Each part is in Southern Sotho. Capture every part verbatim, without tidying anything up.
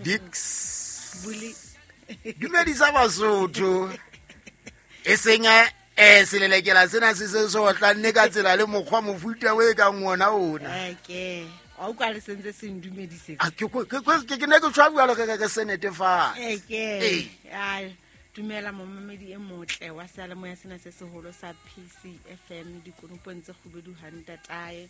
Dix. Buli. Dumedisa Basotho. E seng eh selelekela sena se se sotla nne ka tsela le mokgwa mofuta o e kang ona ona. Eke. Wa utlwa le sentse se ndumedisetse. A ke ke ke ke ne ke tshwa bua le ke ke se netefatse. Eke. Ai dumela momamedi e motle wa seyalemoya sena se seholo sa P C F M dikonopong tse kgubedu ha ntatae.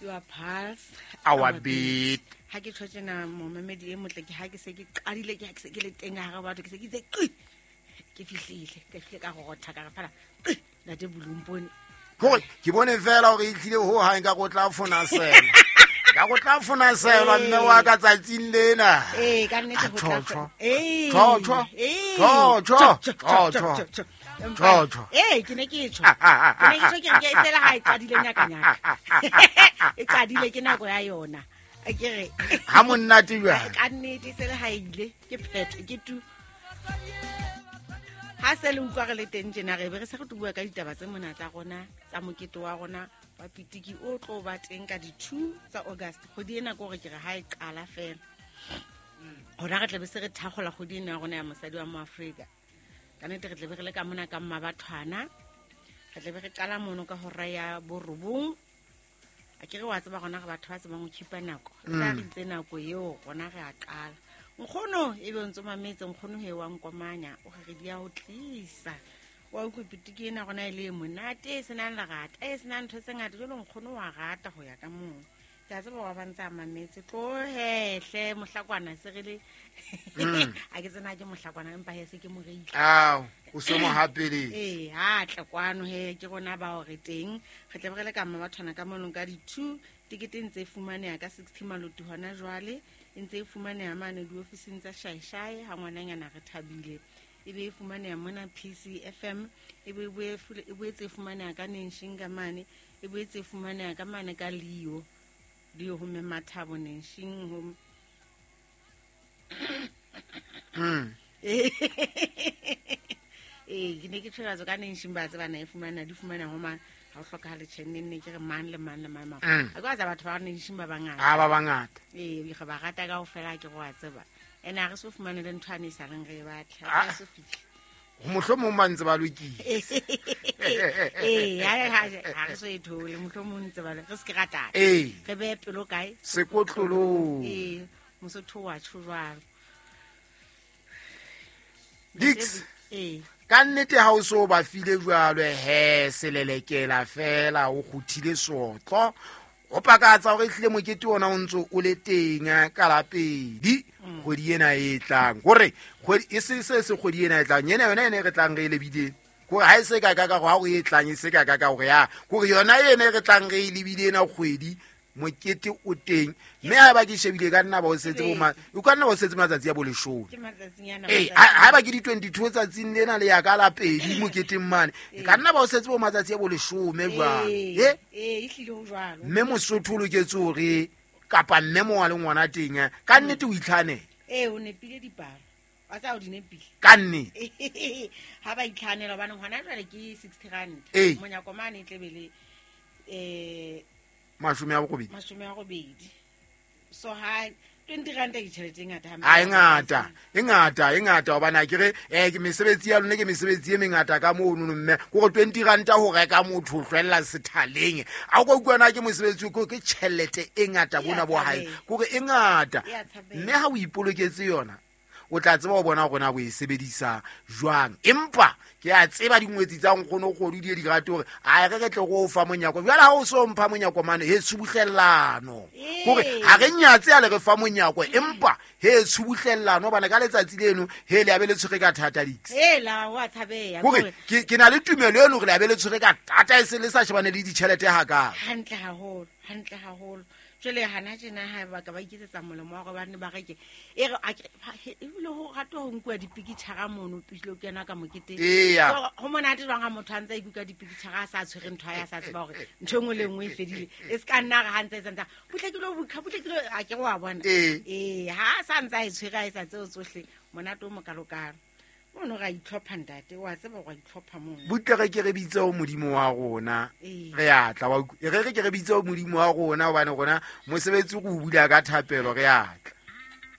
Your pulse, our beat. Ha ke tjho tjena momamedi e motle ke ha ke se ke qadile ke ha ke se ke le teng ha re batho ke se ke itse qi ke fihlile ke fihle ka go rotha ka re fela qi ntate Bulumpone hore ke bone fela hore e tlile ho hang ka go tla fona sela ka go tla fona sela mme wa ka tsatsing lena eh ka nnete ho tla eh tjo tjo tjo tjo tjo tjo tjo eh ke ne ke tjho ke ne ke tjho ke re ke sela ha e qadile nyaka nyaka e qadile ke nako ya yona a ke re ha monnate jwang ka nnete sela ha ile ke phetho ke tu ha se le utlwa re le teng tjena re be re se re bua ka ditaba tse mona tsa rona tsa mokete wa rona wa pitiki o tlo ba teng ka di two tsa August kgwedi ena ke hore ke re ha e qala fela hona re tla be se re thakgola kgwedi ena ya rona ya mosadi wa Moafrika ka nnete re tla be re le ka mona ka Mmabathwana re tla be re qala mono ka hora ya borobong a ke re wa tseba rona re batho ba tsebang ho khipa nako re tla re itse nako eo rona re a qala nkgono e be o ntso mametse nkgono he wa nkomanya o re di ya ho tlisa wa utlwa pitiki ena rona e le monate e senang lerata e senang ntho tse ngata jwale nkgono wa rata ho ya ka moo ke a tseba wa ba ntse a mametse tlohehle mohlakwana se re le a ke tsena ke mohlakwana empa he se ke moreile ao o se mo hapeletse ee ha tla kwano he ke rona ba hore teng re tle re le ka Mmabathwana ka mono ka di two tikete ntse e fumaneha ka sixty maloti hona jwale e ntse e fumaneha mane diofising tsa Shaeshae ha ngwananyana re thabile e be e fumaneha mona P C F M e be e boetse e fumaneha ka Nenshinga ka mane e boetse e fumaneha ka mane ka Leo Leo ho mme Mathabo Nenshing ho mm eh ke ne ke tshwara ka Nenshing ba tseba na e fumana di fumana ho mang ha o hlokahale tjhe nne ke re mang le mang le mang mang a kwa tsa batho ba Nenshing ba bangata a ba bangata eh re ba rata ka ofela ke go a tseba ene a re so fumane le ntho ane e sa reng re e batla a so fihle mohlomong ba ntse ba lokile eh ha ha re so e thole mohlomong ntse ba re se ke ratana re behe pelo kae sekotlolong eh mosotho wa tjho jwalo Dix eh ka nnete ha o so ba file jwalo he selelekela fela o kguthile sotlo o pakatsa hore ehlile mokete ona o ntso o le teng ka lapedi kgwedi ena e tlang hore kgwedi e se se se kgwedi ena e tlang ena yona ene re tlang re e lebile hore ha e se ka ka ka ha o e tlang e se ka ka ka hore ya hore yona ene re tlang re e lebile ena kgwedi mokete o teng mme ha ba ke shebile ka nna ba o setse bo ma o ka nna ba o setse matsatsi a bo leshome ke matsatsinyana eh ha ba ke di twenty-two tsatsing lena le ya ka la pedi moketeng mane ka nna ba o setse bo matsatsi a bo leshome jwang eh eh ehlile ho jwalo mme mosotho o loketse hore kapa mme mo wa le ngwana teng ka nnete o itlhanela eh o nepile dipalo wa tsa o di nepile ka nnete ha ba itlhanela hobane hona jwale ke sixty rand monyako mane e tlebele eh mashome a borobedi mashome a robedi so ha twenty rand ke tjhelete e ngata hampe a e ngata e ngata e ngata hobane a ke re eh ke mesebetsi ya lona ke mesebetsi e mengata ka mono mme hore twenty rand ho reka motho o hlwella sethaleng a o ka utlwa ke mosebetsi ko ke tjhelete e ngata bona bo hae kore e ngata mme ha o ipoloketse yona o tla tseba ho bona hore na o e sebedisa jwang empa ke a tseba dingwetsi tsa nkgono kgodu di di rate hore a re re tle go fa monyako jwale ha o so mpha monyako mane he tshubuhlellano hore ha re nyatse a le re fa monyako empa he tshubuhlellano bana ka letsatsi leno he le a be le tshwere ka thata dix he la wa tshabeya hore ke ke na le tumelo eno hore le a be le tshwere ka thata e se le sa shebane le ditjhelete ha ka hantle haholo hantle haholo jwale hana tjena ha ba ka ba iketsetsa molemo wa hore ba ne ba reke e re ebile ho ratwa ho nkuwa dipikitjhara mono pele o kena ka moketeng ho monate jwang ha motho a ntse a ikuka dipikitjhara a sa tshwere ntho ya sa tseba hore ntho e nngwe le nngwe e fedile e se ka nna re ha ntse e santsa butle ke lo bukha butle ke lo a ke wa bona ee ha sa ntse a e tshwere a etsa tseo tsohle monate o mokalokalo mono ra itlhopha ntate wa tseba go itlhopha mono butle re ke re bitse o modimo wa rona re a tla wa re re ke re bitse o modimo wa rona hobane rona mosebetsi go bula ka thapelo re a tla